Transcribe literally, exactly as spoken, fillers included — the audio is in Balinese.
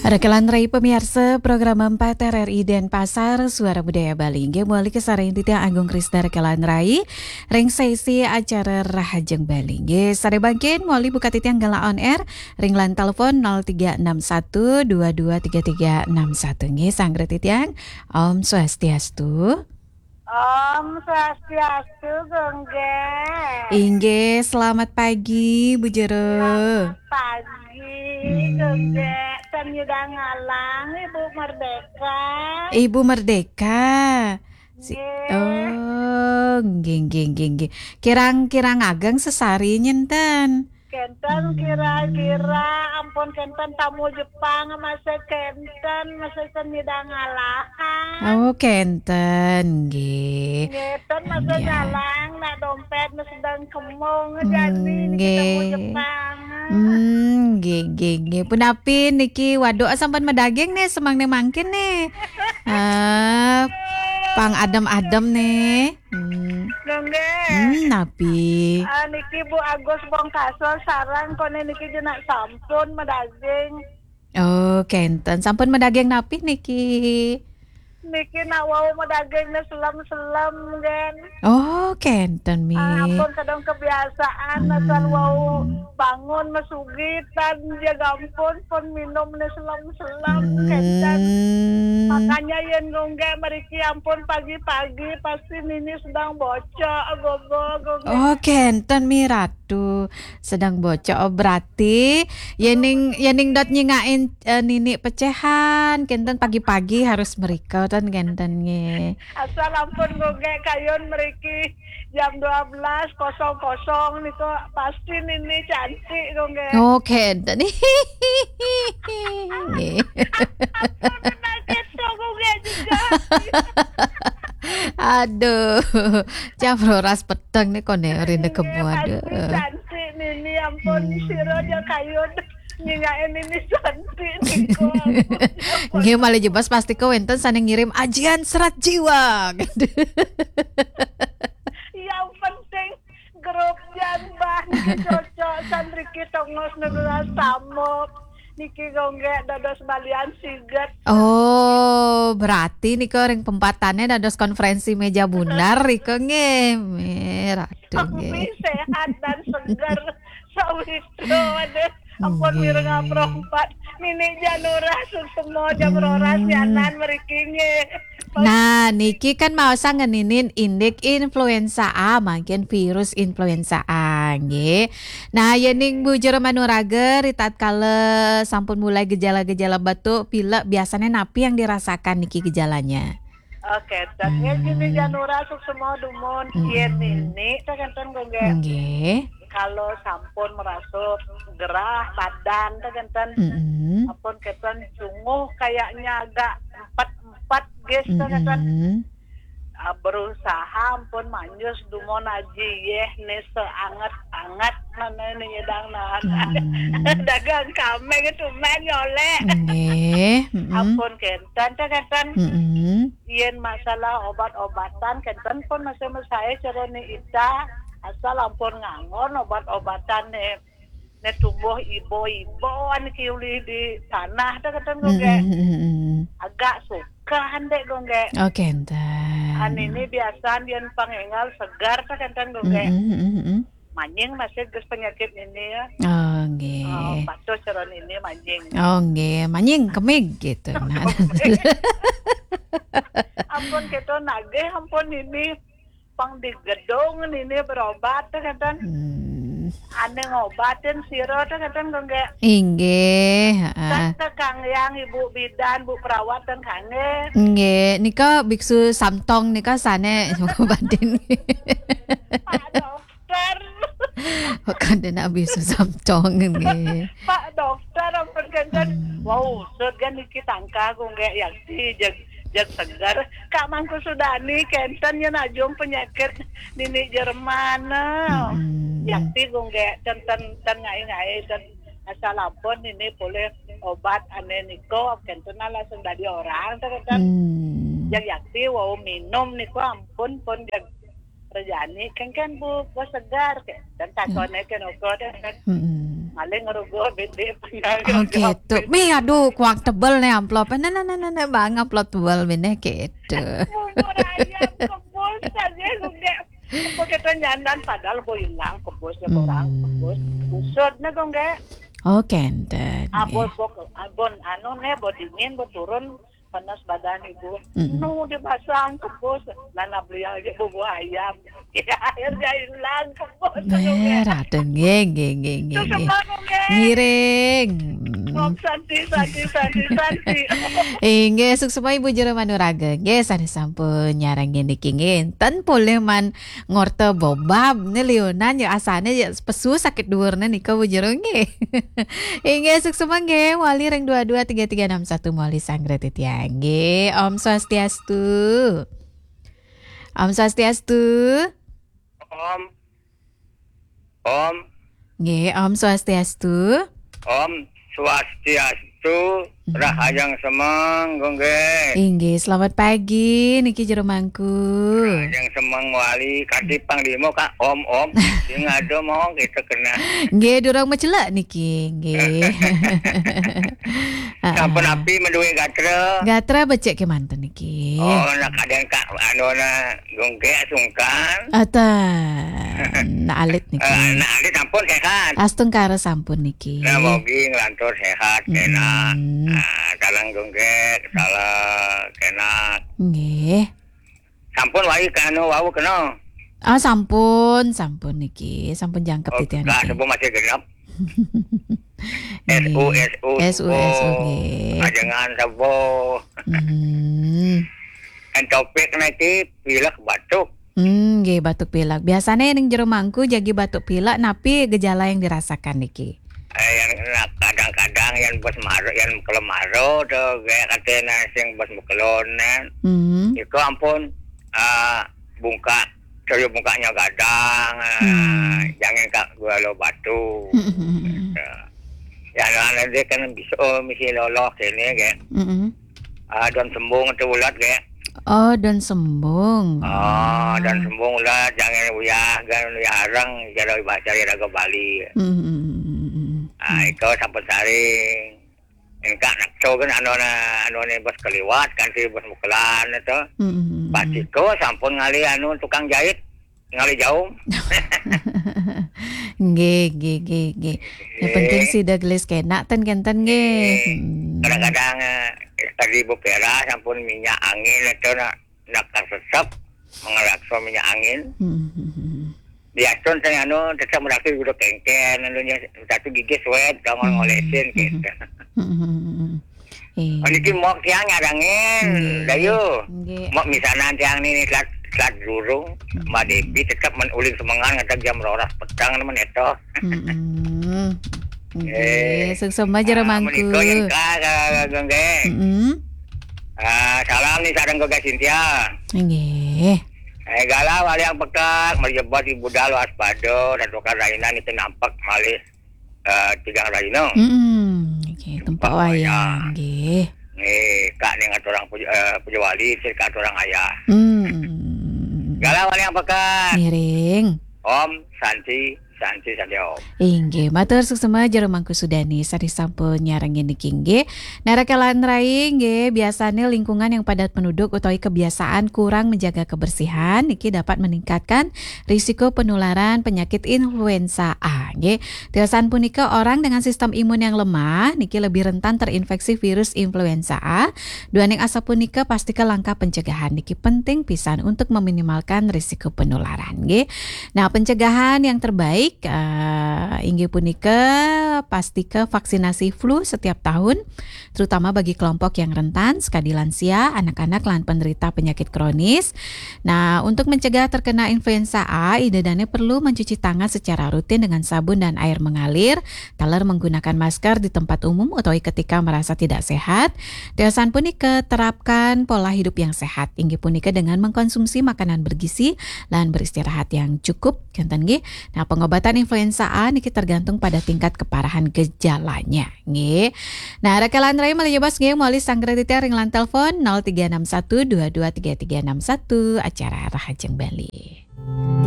Rekelan Rai pamiarsa program empat R R I Denpasar, Suara Budaya Bali. Inggih, mawali kasarengin titiang Agung Krisna Rekelan Rai ring sesi acara Rahajeng Bali. Inggih, sané mangkin mawali buka titiang galah on air ring line telepon nol tiga enam satu dua dua tiga tiga enam satu. Inggih, sanggra titiang. Om Swastiastu. Om Swastiastu, Gung Gé. Inggih, selamat pagi, Bu Jero. Selamat pagi, Hmm. Gung Gé. Tan nyidang ngalang, Ibu Merdeka. Ibu Merdeka. Si- Nggih. Oh, nggih, nggih, nggih, nggih. Kirang-kirang ageng sesari nyén ten? Kénten Hmm. kira-kira ampun kénten tamu Jepang masih kénten, masih ten nyidang ngalahan. Oh, kénten, nggih. Nggih, ten masih Nggih. ngalang, nak dompét masih sedang kemung, Hmm, jani niki tamu nggih. Jepang. Hmm, nggih, nggih, nggih. Punapi niki waduk sampun madaging nih, semangné mangkin nih. Ah, pang adem-adem nih. Hmm. Nggih. Hmm, napi? Ah, niki Bu Agus Bongkaso sareng koné niki jenak sampun madaging. Oh, kénten. Sampun madaging napi niki? Niki nak wau madaging né selem-selem, Gén. Oh, kénten, Mi. Ah, ampun kadang kebiasaan, Hmm. asal wau bangun masugitan, ya ampun, pun minum né selem-selem, Hmm. kénten. Makanya yén Gung Gé mriki ampun pagi-pagi, pasti nini sedang bocok, gogo, Gung Gé. Oh, kénten, Mi Ratu. Sedang bocok. Oh, berarti yéning, yéning dot nyingakin, eh, nini pecéhan, kénten pagi-pagi harus mrika ten kénten nggih. Asal ampun Gung Gé kayun mriki jam dua belas kosong kosong niku pasti nini cantik Gung Gé. Oh, kénten. Ampun, nak kéto Gung Gé juga. Aduh, jam roras peteng nih koné rinda kemu, pasti aduh. Cantik nini, ampun, Hmm. sira ja kayun nyingakin nini cantik niku. Nggih, malih jebos pasti kawénten sané ngirim ajian serat jiwa. Yang penting grup jambah niki cocok, san riki tongos nuduh samuk. Niki Gung Gé dados balian siget. Oh, berarti nika ring pempatannya dados konferensi méja bunar rika nggih. Méh, Ratu nggih. Lebih sehat dan segar. Sawitra, waduh. Ampun, nggih. Mireng aprompat. Nini Janura suksma jam Hmm. roras nyanan mriki nggih. Nah, niki kan maosang ngeninin indik influenza A, mangkin virus influenza A, nggih. Nah, yéning Bu Jero Manuraga, ritatkala sampun mulai gejala-gejala batuk, pilek, biasanya napi yang dirasakan niki gejalanya? Oke, dan ya, Hmm. gini, Janura suksma dumun. Hmm. Yén nini, téh kénten, Gung Gé. Nggih. Kalau sampun merasa gerah badan, téh kénten. Mm-mm. Ampun kénten cunguh kayaknya agak empet-empet, guys, téh kénten. Mm-mm. Ah, berusaha ampun manjus dumun aji yéh né seanget-anget mana ini nyidang nahan. Mm-mm. Dagang kameng itu men nyolek. Nggih, mm-mm. Ampun kénten, téh kénten. Mm-mm. Yén masalah obat-obatan, kénten pun masih mesaé cara ni ita, asal ampun nganggon obat-obatan né, né tumbuh ibo-iboan kiulih di tanah, téh kénten, Gung Gé. Mm-mm, mm-mm. Agak suka andé, Gung Gé. Oh, kénten. An ini biasaan yén pang énggal segar, téh kénten, Gung Gé. Mm-mm, mm-mm, mm-mm. Manying masih gus penyakit ini ya. Oh, nggih. Oh, patuh cara ini manying. Oh, nggih. Manying kemig gitu. Nah. Ampun kita nagih, ampun ini pang di gedung ini berobat téh kénten. Hmm. Ané ngobatin sira téh kénten, Gung Gé. Inggih, heeh. Kan ke Kang Yang, Ibu Bidan, Bu Perawat dan kanggé. Nggih, nika biksu Samtong nika sané ngobatin. Pak Dokter. Kandhana biksu Samtong nggih. Pak Dokter, ampun kénten. Hmm. Wau, usut kan niki tangkah, Gung Gé, yakti jeg, jeg seger. Kak Mangku Sudani, kénten yén ajung penyakit nini Jerman. Mm-mm. Yakti, Gung Gé, ten, ten, ten ngai-ngai, ten asal ampun nini polih obat ané niko, kénten langsung dadi orang, ten, ten. Hmm. Jeg yakti wau minum niko ampun pun jeg rejani, kéngkén Bu, Bu segar, kénten takoné kén ukur, ten, ten. Mm-mm. Maling ngerugo bede penggal. Oh gitu. Mi, aduh, kuang tebel nih amplop. Nah, nah, nah, nah, nah, bang amplop tebel bene gitu. Bubur ayam kebus aja gede. Apa kita nyandan padahal bo hilang kebus ya orang kebus. Usut nih gongge. Oh, kenten. Abon bok, abon anu nih bo dingin bo turun panas badan ibu. Nu dipasang kebus, nana beli aja bubur ayam. Ya, akhirnya hilang kebus. Merah deh, nggih, nggih, nggih, nggih, nggih. Ngiring. Om Santi, Santi, Santi, Santi. Inggih, suksma Ibu Jero Manuraga. Nggih, sanes sampun nyarengin niki nggih. Enten polih man ngorta bobab ne liunan ya asane ya pesu sakit dhuwurne nika Bu Jero nggih. Inggih suksma nggih wali ring dua dua tiga tiga enam satu mawali sanggra titiang nggih. Om Swastiastu. Om Swastiastu. Om. Om. Nggih, Om Swastiastu. Om Swastiastu. Rahajeng semeng, Gung, nggih. Inggih, selamat pagi niki Jero Mangku. Rahajeng semeng wali, kanti panglima Kak Om Om. Sing ada mau kita kena. Nggih, durung mecelek niki, nggih. Sampun api menduwe gatra. Gatra becik kemanten niki. Oh, nak kadang Kak anu na Gung, nggih sungkan. Atan. Nak alit niki. Eh, nak alit sampun sehat. Astungkara sampun niki. Nah, mogi nglantur sehat kena. Ah, dalang Gung, nggih, salah kena. Nggih. Sampun wali kanu wau kena. Ah, sampun, sampun niki. Sampun jangkep titiang niki. Subuh masih genep. S U, S U, S U, subuh. Ajengan subuh. Entopik niki pilek batuk. Hmm, nggih, batuk pilek. Biasane ning Jero Mangku jagi batuk pilek, napi gejala yang dirasakan niki? Eh, yang kadang-kadang yang bos maro, yang kelem maro to, kayak katanya sing bos bekelon, kan. Iku ampun, eh, bungkak, coyo bungkaknya gadang, eh, jangan kak gua lo batu. Ya, lo anak dia kan bisa, oh, misi loloh kene, kayak. Ah, don sembung tu ulat, kayak. Oh, don sembung. Ah, don sembung ulat, jangan uyah, gan uyah arang, kalau bahasa dia raga Bali. Ah, iko sampun saring. Engkak nak coba kan anu na, anu ni bos keliwat, kan si bos mukelan itu. Pas iko sampun ngali anu tukang jahit, ngali jaum. Nggih, nggih, nggih, nggih. Yang penting sida gelis kenak ten kenten nggih. Kadang-kadang, eh, tadi Bu Pera sampun minyak angin itu nak, nak sesep, mengelakso minyak angin. Biasun saya anu tetap merapi udah kengken, anunya satu gigi suet, jangan ngolesin gitu. Iya. Niki mok tiang nyarangin, Dayu. Nggih. Mok misanan tiang niki telat, telat durung, Mbak Devi tetap men-, uling semengan ngadeg jam rolas petang nemen eto. Nggih, suksma Jero Mangku. Menika yang ka, ka, ka, nggih. Ah, salam nih sareng Goga Sintia. Nggih. Eh, gala wali yang pekak, merjebot ibu dalu aspada, dan tukar rainan itu nampak malih eh, tigang raina. Oke, tempat wayang, nggih. Nggih, kak ning aturang puja, eh, puja wali, sir kak aturang ayah. Gala wali yang pekat. Ngiring. Om Santi, Santi, Santi Om. Inggih, matur suksma Jero Mangku Sudani, sari sampun nyarengin niki nggih. Narakalan rai nggih, biasane lingkungan yang padat penduduk utawi kebiasaan kurang menjaga kebersihan niki dapat meningkatkan risiko penularan penyakit influenza A nggih. Tiosan punika orang dengan sistem imun yang lemah niki lebih rentan terinfeksi virus influenza A. Duaning asapunika pastika langkah pencegahan niki penting pisan untuk meminimalkan risiko penularan nggih. Nah, pencegahan yang terbaik eh, inggih punika pastika vaksinasi flu setiap tahun terutama bagi kelompok yang rentan, sekadi lansia, anak-anak lan penderita penyakit kronis. Nah, untuk mencegah terkena influenza A, ida dane perlu mencuci tangan secara rutin dengan sabun dan air mengalir, taler menggunakan masker di tempat umum utawi ketika merasa tidak sehat. Tiosan punika terapkan pola hidup yang sehat, inggih punika dengan mengkonsumsi makanan bergizi lan beristirahat yang cukup, kenten nggih. Nah, pengobatan influenza A niki tergantung pada tingkat keparahan gejalanya. Nggih. Nah, rakalan rai malih jebos nggih mawali sanggra titiang ring line telepon nol tiga enam satu dua dua tiga tiga enam satu, acara Rahajeng Bali.